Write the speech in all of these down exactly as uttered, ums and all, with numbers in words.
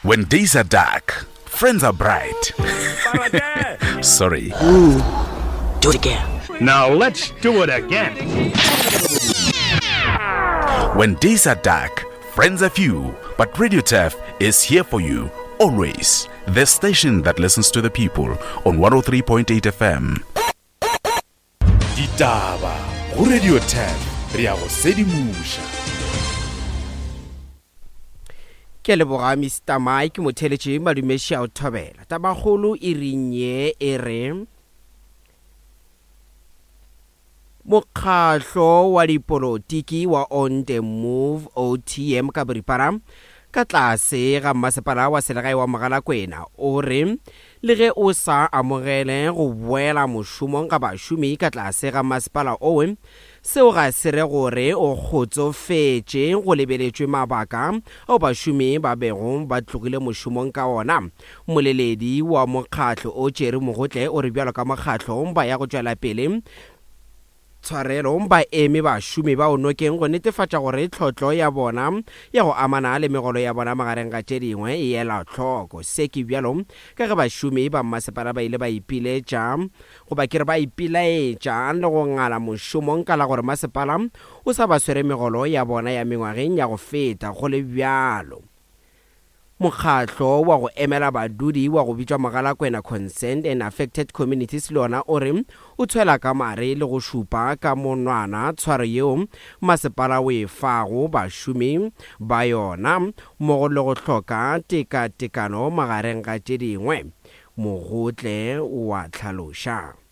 When days are dark, friends are bright. Sorry. Ooh, do it again. Now let's do it again. When days are dark, friends are few, but Radio Turf is here for you always. The station that listens to the people on one oh three point eight F M. Ditaba go Radio Turf, re a go sedimoša. Ke leboga Mister Mike Motheletše madumeši a o thobela. Tabakgolo e rinye e re mokgahlo wa dipolotiki wa On The Move O T M ka boripana ka tlase ga mmasepala wa selegae wa Mogalakwena o re le ge o sa amogele go boela mošomong ga bašomi ka tlase ga mmasepala owe, seo ga se re gore o kgotsofetše go lebeletšwe mabaka ao bašomi ba bego ba tlogile mošomong ka ona. Moleledi wa mokgatlo o Jerry Mogotle o re bjalo ka mokgatlo ba ya go tšwela pele tshwarelo ba eme bašomi ba o nokeng go netefatša gore tlhotlo ya bona ya go amana le megolo ya bona magareng ga tše dingwe e ela tlhoko. Se ke bjalo ka ge bašomi ba mmasepala ba ile ba ipiletša goba ke re ba ipilaetša le go ngala mošomong ka la gore masepala o sa ba swere megolo ya bona ya mengwageng ya go feta. Go le bjalo, mokgatlo wa go emela badudi wa go bitšwa Mogalakwena Concerned and Affected Communities le ona o re o tshwela ka mare le go šupa ka monwana tshwaro yeo masepala o e fago bašomi ba yona mmogo le go hloka tekatekano magareng ga tše dingwe. Mogotle wa tlhaloša.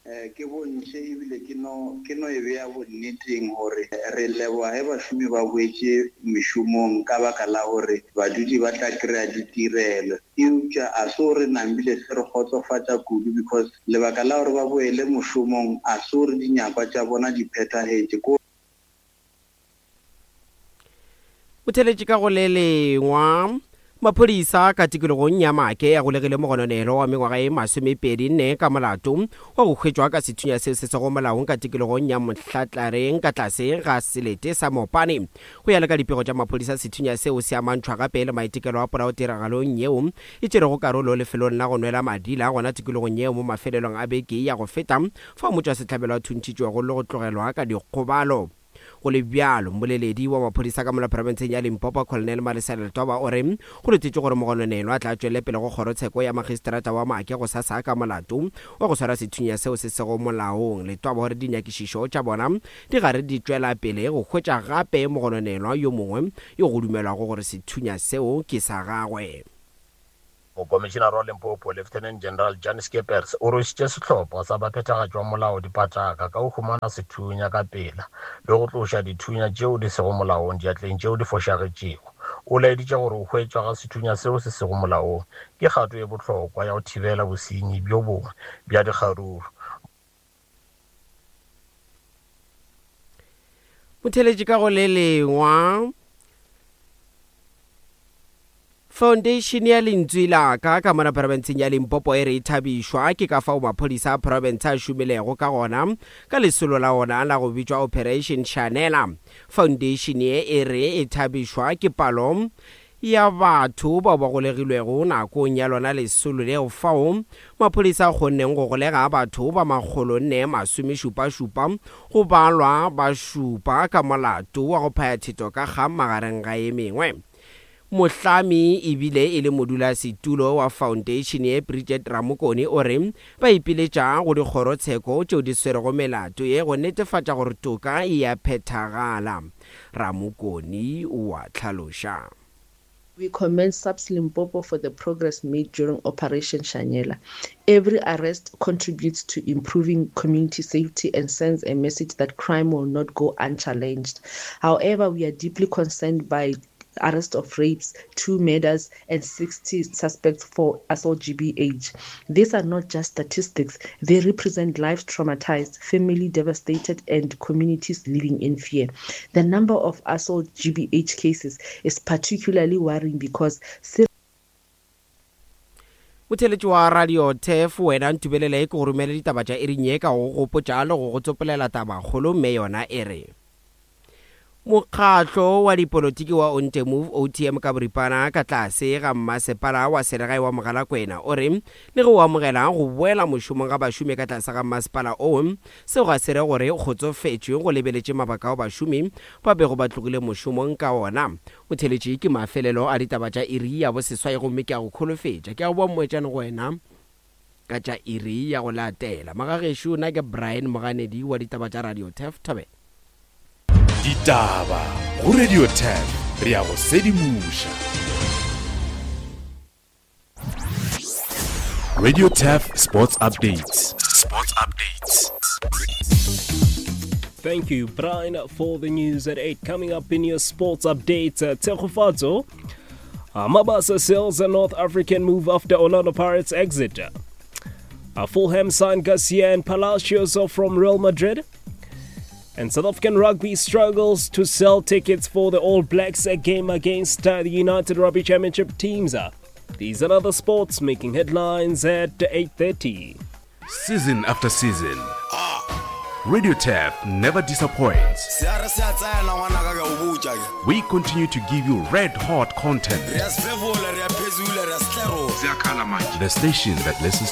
Ke bontšhe ebile ke no ke no e beya bonneteng gore re leboga ge bašomi ba boetše mešomong ka baka la gore badudi ba tla kry-a ditirelo, eupša a se gore nambile se re kgotsofatša kudu because lebaka la gore ba boele mošomong a se gore dinyakwa tša bona di phethagetše. Motheletše ka go le lengwa maphodisa ka tikologong ya Maake ya golegile mogononelo wa mengwaga e masomepedi nne ka molato wa go hwetšwa ka sethunya seo se sego molaong ka tikologong ya Mohlatlareng ka tlase ga selete sa Mopane. Go ya le ka dipego tša maphodisa, sethunya seo se amantšhwa gape le maitekelo a polao tiragalong yeo e tšerego karolo lefelong la go nwela madila gona tikologong yeo mo mafelelong a beke ya go feta, fao motšwasehlabelo a thuntšhitšwego le go tlogelwa ka dikgobalo. Go le bjalo, mmoleledi wa maphodisa ka mola profenseng ya Limpopo Colonel Malesela Letwaba o re go letetše gore mogononelwa a tla tšwele pele go kgorotsheko ya magistrata wa Maake go sasa ka molato wa go swara sethunya seo se sego molaong. Letwaba o re dinyakišišo tša bona di gare di tšwela pele go hwetša gape mogononelwa yo mongwe yo go dumelwago gore sethunya seo ke sa gagwe. Mokomišenare wa Limpopo Lieutenant General Jan Skeepers o rwešitše sehlopha sa baphethagatši wa molao dipataka ka go humana sethunya ka pela le go tloša dithunya tšeo di sego molaong diatleng tšeo di fošagetšego. O laeditše gore go hwetšwa ga sethunya seo se sego molaong ke kgato e bohlokwa ya go thibela bosenyi bjo bongwe bja dikgaruru. Motheletši ka go le lengwa, Foundation ya Lentswe la ka ka mona profenseng ya Limpopo e re e thabišwa ke ka fao maphodisa a profense a šomilego ka gona ka lesolo la ona la go bitšwa Operation Shanela. Foundation ye e re e thabišwa ke palo ya batho bao ba golegilwego nakong ya lona lesolo leo, fao maphodisa a kgonneng go golega batho ba makgolo nne masomešupašupa go balwa ba šupa ka molato wa go phaya thetho ka kgang magareng ga e mengwe. Mohlami ebile e le modulasetulo wa foundation ye Bridget Ramokone o re ba ipiletša go dikgorotsheko tšeo di swerego melato ye go netefatša gore toka e a phethagala. Ramokone o a tlhaloša. We commend SAPS Limpopo for the progress made during Operation Shanela. Every arrest contributes to improving community safety and sends a message that crime will not go unchallenged. However, we are deeply concerned by arrest of rapes, two murders, and sixty suspects for assault G B H. These are not just statistics. They represent lives traumatized, family devastated, and communities living in fear. The number of assault G B H cases is particularly worrying because Motheletši wa Radio Turf, wena ntubelele ke go romele ditaba tša iring ye ka go gopotša le go go tsopolela tabakgolo, mme yona e re mokgatlo wa dipolotiki wa Onte Move O T M ka boripana ka tlase ga mmasepala wa selegae wa Mogalakwena o re le ge o amogela go boela mošomong ga bašomi ka tlase ga mmasepala oo, seo ga se re gore kgotsofetšwe go lebeletše mabaka ao bašomi ba bego ba tlogile mošomong ka ona. Motheletši ke mafelelo a ditaba tša iri ya boseswai, gomme ke a go kholofetša ke a go boa mmoetšane go wena ka tša iri ya go latela. Magagešo, nna ke Brian Moganedi wa ditaba tša Radio Turf. Thobela. Ditaba go Radio Turf, re ya go sedimoša. Radio Turf Sports Updates. Sports Updates. Thank you, Brian, for the news at eight. Coming up in your sports updates, uh, Tshegofatso, uh, Mabasa sells a North African move after Orlando Pirates exit. Uh, Fulham signed Garcia and Palacios from Real Madrid. And South African rugby struggles to sell tickets for the All Blacks game against uh, the United Rugby Championship teams. Uh, these and other sports making headlines at eight thirty. Season after season, Radio Turf never disappoints. We continue to give you red-hot content. The station that listens